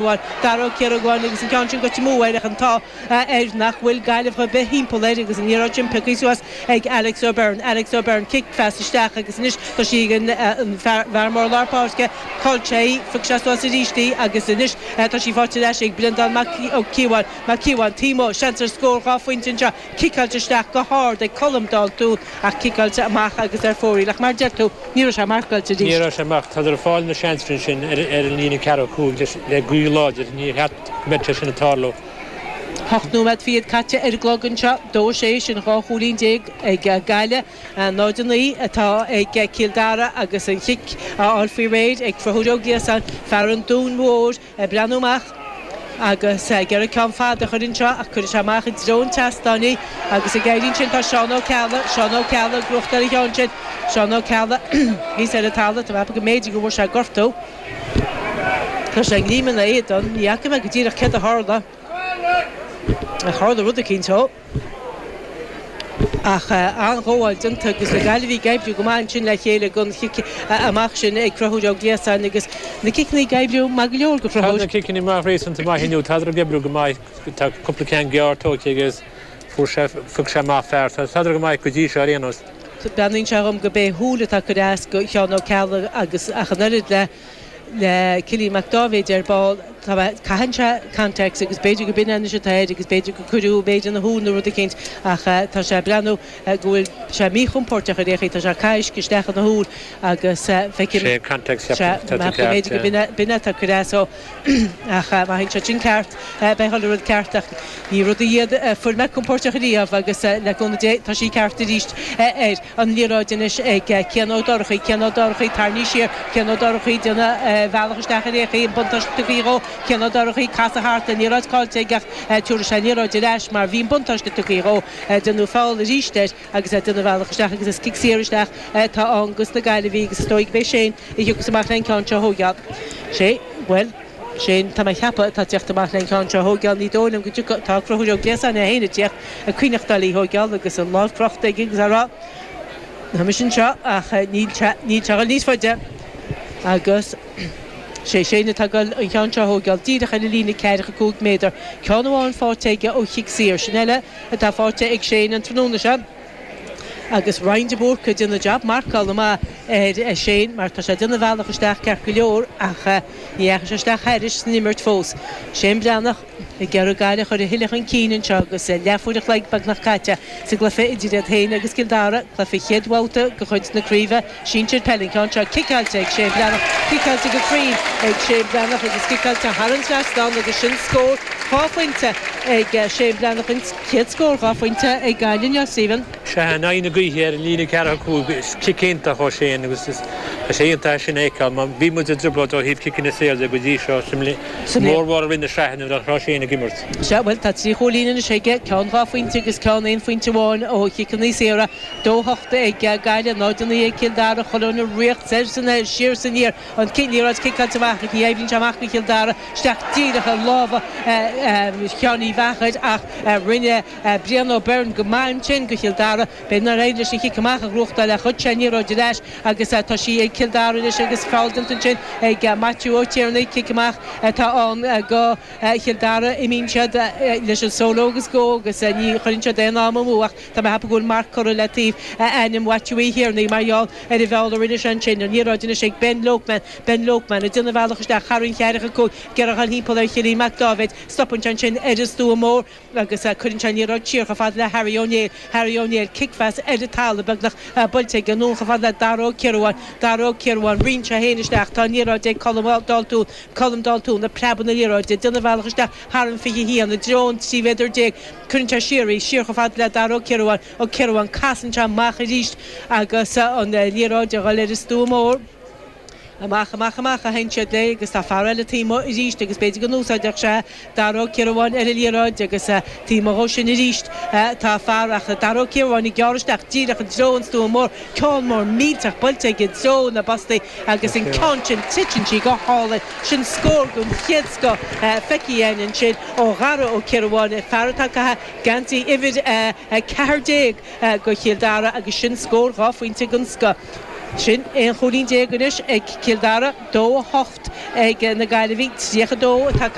Dara Ó Ciaracháin agus an ceann sin goite amú air ach an t-ádh air nach bhfuil Gaillimheach ar bith thimpeall air agus an liathróid sin pioctha suas ag Alex O'Byrne. Alex O'Byrne, cic phas isteach agus anois tá sí ag an bhfear mór lár páirce, chaill sé í, phioc sé suas arís í agus anois tá sí faighte ar ais ag Breandán Mac Cíobháin. Mac Cíobháin, taobh amuigh, seans ar scór 2 phointe anseo, ciceáilte isteach go hard ag Colm Daltún ach ciceáilte amach agus ar fóraoil ach mar a deir tú, Ní raibh sé marcáilte arís. Ní raibh sé marcáilte. Tádar ag fáil na seansanna sin ar an líne ceathracha 5 le gaoth láidir. Níor cheart go mbeadh sé sin ag tarlú. 8 nóiméad fichead caite ar an gclog anseo. 2, 6, sin 12 chúilín ag Gaillimh. 0, 9 atá ag Cill Dara agus an chic á fháil faoi réir ag Conchúr Ó Gliasáin, fear an Dúin Mhóir. Ag breathnú amach agus ag iarraidh ceann fada a chur anseo ach cuirfidh sé amach i dtreo an tseastáin í agus ag éirí ansin tá Seán Ó Ceallaigh, Seán Ó Ceallaigh ag gnóthachtáil an cheann sin, Seán Ó Ceallaigh thíos ar an talamh, tá mé ag ceapadh go mb'fhéidir go bhfuair sé gortú. Tá sé ag léim ina éadan, ní fhaca mé go díreach céard a tharla. Ach tharla rud eicínt dhó. Ach an-ghabháil déanta agus na Gaillimhigh ag oibriú go maith ansin le chéile don chic amach sin ag Conchúr Ó Gliasáin agus na ciceanna ag oibriú maith go leor do Tá Chonchúr. na ciceanna amach réasúnta maith inniu, tádar ag oibriú go maith, tá cúpla ceann gearr tógtha agus fuair sé, phioc sé amach fear, tádar go maith go dtí seo ar aon nós. Breathnaíonn sé dhom go b'é shúil atá ag cur as do Sheán Ó Ceallaigh agus ach an oiread le le Cillian Mac Dáibhéid ar ball. Tá mé, caitheann sé contacts agus b'fhéidir go b'in é anois atá air agus b'fhéidir gur cuireadh b'fhéidir ina shúil nó rud eicínt ach tá sé ag breathnú go bhfuil sé míchompóirteach ar aon chaoi, tá sé ag caitheamh uisce isteach ina shúil agus feicim, Sé contacts sea, ceapaim, tá tú go ceart, b'fhéidir go b'in é, b'in é atá ag cur as dó ach má théann sé sin ceart beidh chuile rud ceart ach ní rudaí iad a fuair mé compóirteach riamh agus le cúnamh Dé tá sí ceart arís air. An liathróid anois ag Cian Ó Dorchaí, Cian Ó Dorchaí tarraingthe siar, Cian Ó Dorchaí ag déanamh a bhealach isteach ar aon chaoi, an buntáiste tugtha dhó, Cian Ó Dorchaí, casadh thart, an liathróid caillte aige ach tabharfaidh sé an liathróid ar ais mar bhí an buntáiste tugtha dhó. Déanadh feall arís air agus é ag déanamh a bhealach isteach agus is cic saor isteach atá ann dos na Gaillimhigh agus is dóigh go b'é Shane a thiocfas amach le an ceann seo a thóigeáil. Sé, bhuel, Shane, tá mé a cheapadh, atá ag tíocht amach le an ceann seo a thóigeáil, ní dóigh liom go dtiocfadh, tá Conchúr Ó Gliasáin é féin ag tíocht, ag coinneachtáil í thóigeáil agus an lámh crochta aige agus á rá, Tá mise anseo ach níl sé, níl sé a dhul níos faide agus sé Shane atá ag dul an ceann seo a thóigeáil díreach ar an líne ceathracha 5 méadar. Ceann amháin faighte aige ó chic saor, sin eile atá faighte ag Shane an tráthnóna seo. Agus Ryan de Búrca ag déanamh jab marcála maith ar Shane mar tá sé ag déanamh a bhealach isteach ceart go leor ach ní dheachaigh sé isteach thairis san imirt fós. Shane Breathnach ag iarraidh Gaillimh a chur a thuilleadh chun cinn anseo agus leathuair a chloig beagnach caite sa gcluiche idir iad féin agus Cill Dara, cluiche chéad bhabhta de chuid na craoibhe sinsir peile. An ceann seo ciceáilte ag Shane Breathnach, ciceáilte go cruinn ag Shane Breathnach agus ciceáilte thar an trasnán agus sin scór 2 phointe ag Shane Breathnach, an chéad scór 2 phointe ag Gaillimh inniu, Stephen. Sea, in aghaidh na gaoithe ar an líne ceathracha 5, is cic iontach ó Shane agus tá sé iontach é sin a fheiceáil mar bhí muid i dtrioblóid ó thaobh ciceanna saora de go dtí seo sa mórmhór i rith na sraithe nuair nach raibh Shane ag imirt. Sea, bhuel tá 3 chúilín anois aige, ceann 2 phointe agus ceann aon phointe amháin ó chiceanna saora. 2, 8 ag Gaillimh, 0, 9 ag Cill Dara, chuile dhuine ag ritheacht soir is anoir, siar is aniar, an liathróid ciceáilte amach ach ní oibríonn sé amach do Chill Dara, isteach díreach i lámha Sheáin Uí Mheachair ach rinne Brian O'Byrne go maith ansin do Chill Dara. B'fhéidir nár éirigh leis an chic amach a ghnóthachtáil ach ghoid sé an liathróid ar ais agus tá sí ag Cill Dara anois agus feall déanta ansin ag Maitiú Ó Tiarnaigh, cic amach atá ann do Chill Dara. Imíonn siad leis an solo agus go agus ní chuireann siad aon am amú ach Tá mé ag ceapadh go bhfuil marc curtha le taobh ainm Mhaitiú Uí Thiarnaigh mar gheall ar an bhfeall a rinne sé ansin. An liathróid anois ag Ben Lokeman. Ben Lokeman ag déanamh a bhealach isteach thar an cheathracha 5, ag iarraidh a dhul thimpeall ar Chillian Mac Dáibhéid. Stopann sé ansin ar an stua mór agus cuireann sé an liathróid siar chomh fada le Harry Ó Néill. Harry Ó Néill, cic-phas ar an talamh beagnach buailte aige anonn chomh fada le Dara Ó Ciarabháin. Dara Ó Ciarabháin, ritheann sé féin isteach. Tá an liathróid ag Colm Daltún. Colm Daltún ag preabadh na liathróide, ag déanamh a bhealach isteach thar an 21 i dtreo an 13 mhéadar. Cuireann sé siar í, siar chomh fada le Dara Ó Ciarabháin, Ó Ciarabháin, casann sé amach arís agus an liathróid a dhul ar an stua mór. Amach, amach, amach a théann siad léi agus tá fear eile taobh amuigh arís agus b'fhéidir go n-úsáidfeadh sé Dara Ó Ciarabháin ar an liathróid agus taobh amuigh dhó sin arís tá fear ach Dara Ó Ciarabháin ag gearradh isteach díreach i dtreo an stua mór, ceann mór millteach buailte aige i dtreo na bpostaí agus an ceann sin titeann sí go hálainn. Sin scór den chéad scoth feicthe againn ansin ó Dhara Ó Ciarabháin, fear atá ag caitheamh geansaí uimhir 14 do Chill Dara agus sin scór 2 phointe den scoth. Sin 11 chúilín anois ag Cill Dara, 2, 8 ag na Gaillimhigh, 32 atá.